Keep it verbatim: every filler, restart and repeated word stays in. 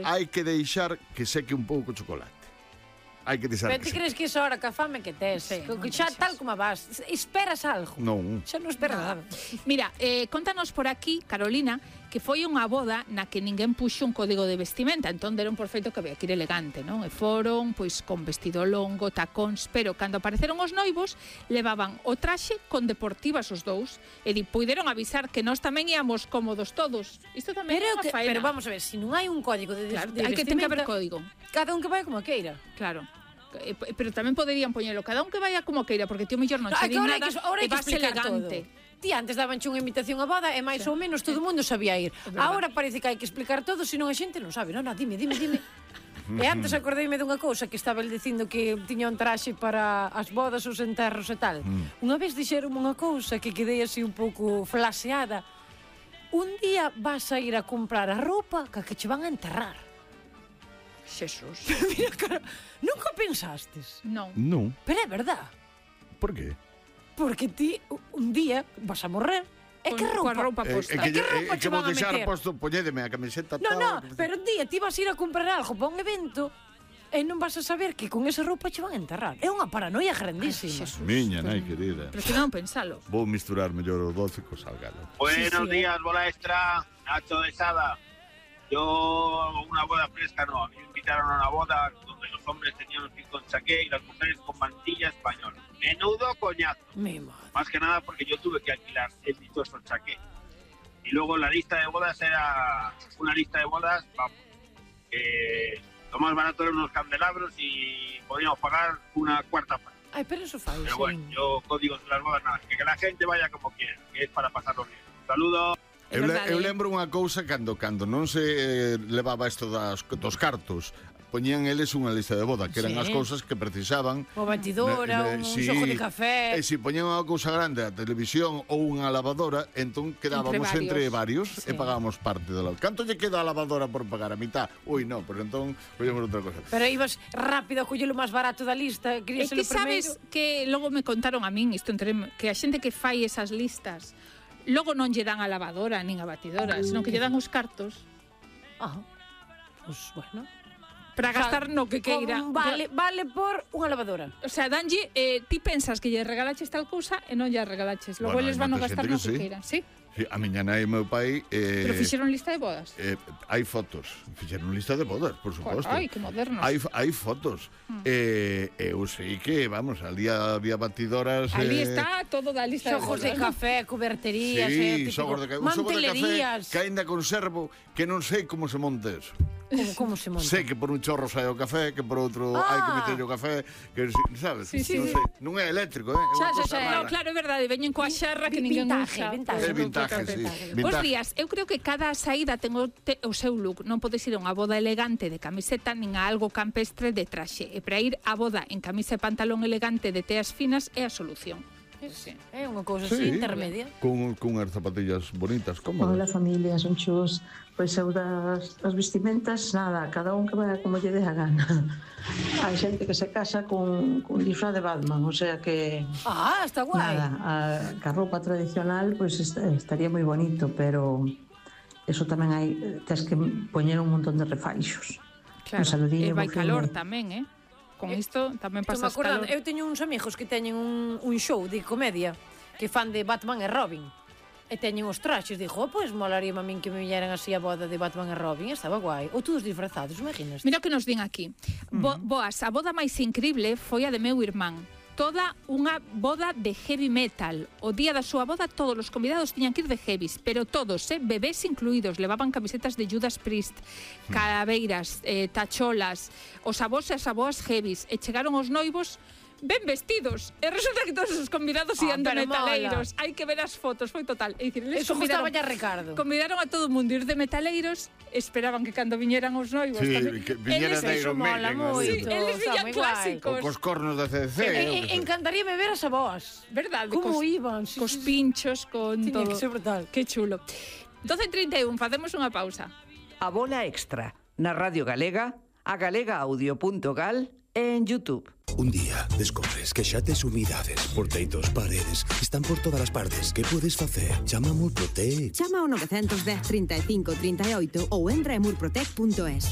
Hai que deixar que seque un pouco o chocolate. Hai que deixar Pero que ti crees que iso ahora ca fame que tes? Xa tal como vas, esperas algo? Non. Xa non esperas nada. Mira, eh, contanos por aquí, Carolina, que foi unha boda na que ninguén puxo un código de vestimenta, entón deron por feito que había que ir elegante, non? E foron, pois, con vestido longo, tacóns, pero cando apareceron os noivos, levaban o traxe con deportivas os dous, e di, puideron avisar que nós tamén íamos cómodos todos. Isto tamén é unha faena. Pero vamos a ver, se non hai un código de, claro, de hai que ten que haber vestimenta, código. Cada un que vai como queira. Claro. Pero tamén poderían poñelo cada un que vaya como queira, porque ti o mellor non che di nada e vas elegante. Ti antes dabanche unha invitación a boda e máis ou menos todo o mundo sabía ir. Agora parece que hai que explicar todo, senón a xente non sabe. Non, non, dime, dime, dime. E antes acordeime dunha cousa que estaba el dicindo que tiña un traxe para as bodas, os enterros e tal. Unha vez dixeron unha cousa que quedei así un pouco flaseada. Un día vas a ir a comprar a roupa que che van a enterrar. Xesús. Mira, cara, nunca pensastes? Non. Non. Pero é verdad. Por qué? Porque ti un día vas a morrer. E que roupa? Coa roupa posta. É que, que roupa é che que van vou a deixar meter? posto, poñédeme a camiseta No, tal. no, pero un día ti vas a ir a comprar algo para un evento e non vas a saber que con esa roupa che van a enterrar. É unha paranoia grandísima. Miña nai querida. Pero que non pensalo. Vou misturar mellor o doce co salgado. Buenos Sí, sí, días, bola extra, Nacho de Sada. Yo, una boda fresca no, a mí me invitaron a una boda donde los hombres tenían un cinto en chaqué y las mujeres con mantilla española. Menudo coñazo. Mi madre. Más que nada porque yo tuve que alquilar el dichoso chaqué. Y luego la lista de bodas era una lista de bodas, vamos, que lo más barato eran unos candelabros y podíamos pagar una cuarta parte. Ai, pero eso fai, Pero sí. bueno, yo códigos de las bodas nada, que, que la gente vaya como quiera, que es para pasarlo bien. Saludos. É Eu, le, verdade. eu lembro unha cousa cando cando non se eh, levaba isto das, dos cartos, poñían eles unha lista de boda, que eran Sí. as cousas que precisaban. Unha batidora, un xojo de café. E se poñían unha cousa grande, a televisión ou unha lavadora, entón quedábamos Entre entre varios, varios. e Sí. pagábamos parte da lavadora. Canto lle queda a lavadora por pagar a mitad? Ui, non, pero entón collemos outra cosa. Pero ibas rápido a coller o máis barato da lista, É querías que ser o primeiro. sabes que logo me contaron a min isto entre que a xente que fai esas listas logo non lle dan a lavadora nin a batidora, senón que lle dan os cartos Ah, pues bueno. para gastar no que queira. Con- Vale, vale por unha lavadora. O sea, danlle, eh, ti pensas que lle regalaches tal cousa e non lle regalaches. Logo Bueno, eles hai van a moita gastar xente no que que sí. queiran, sí? Sí, a miña nai e meu pai eh, Pero fixeron lista de bodas. eh, hai fotos, fixeron lista de bodas, por suposto. Ai, que modernos. Hai, hai fotos. Mm. Eh, eu sei que, vamos, ali había batidoras. Ali eh, está todo da lista Xojos de de bodas. café, cuberterías, Sí, eh, típico, xogos de ca- un xogo de café mantelerías. que aínda conservo, que non sei como se monta eso. Como, como se monta? Sei que por un chorro sai o café, que por outro Ah. hai que meter o café, que si- sabes? Sí, sí, non sí. sei, non é eléctrico, eh? É unha Xa, xa, cosa xa, rara. No, claro, é verdade, veñen coa xarra que ninguén Vintage, usa. vintage. É vintage, sí. Bos Vintage. días, eu creo que cada saída ten o, te, o seu look. Non podes ir a unha boda elegante de camiseta nin a algo campestre de traxe. E para ir á boda en camisa e pantalón elegante de teas finas é a solución. Sí. É unha cousa así, intermedia. Con, con as zapatillas bonitas, cómodas. Hola familia, son chus. Pois eu das, das vestimentas, nada, cada un que vaya como lle dé a gana. Hai xente que se casa con, con disfraz de Batman, o sea que Ah, está guai. nada, a, que a roupa tradicional pois est estaría moi bonito, pero eso tamén hai, tes que poñer un montón de refaixos. Claro, Un saludinho, e vai bo fin calor de- tamén, eh? Con isto tamén Estou me pasas acordando, calor. eu teño uns amigos que teñen un, un show de comedia que fan de Batman e Robin. E teñen os traxes, dixo, oh, pois molaría a min que me vieran así a boda de Batman e Robin, estaba guai. Ou todos disfrazados, imaginas? Mira o que nos din aquí. Bo, boas, a boda máis increíble foi a de meu irmán. Toda unha boda de heavy metal. O día da súa boda todos os convidados tiñan que ir de heavies, pero todos, eh, bebés incluídos, levaban camisetas de Judas Priest, calaveiras, eh, tacholas, os avós e as avoas heavies, e chegaron os noivos ben vestidos. E resulta que todos os convidados Ah, ian de pero metaleiros. Hai que ver as fotos, foi total. É dicir, eles Eso gustaba convidaron, ya Ricardo. convidaron a todo o mundo ir de metaleiros, esperaban que cando viñeran os noivos Sí, tamén. que viñera Eles- de Iron mola Maiden. moito. Sí, así. eles Está viñan moi guai. clásicos. O cos cornos da C D C. E, eu e, que sei. encantaríame ver as aboas. Verdade, Como cos, iban? Sí, cos sí, sí. pinchos, con Tiña todo. que ser brutal. Que chulo. doce e trinta e un, facemos unha pausa. A bola extra na Radio Galega, a galega audio punto gal e en YouTube. Un día descobres que xa tes humidades por teitos, paredes, están por todas as partes. Que podes facer? Chama a Murprotec. Chama ao nove dez, trinta e cinco, trinta e oito ou entra en murprotec punto es.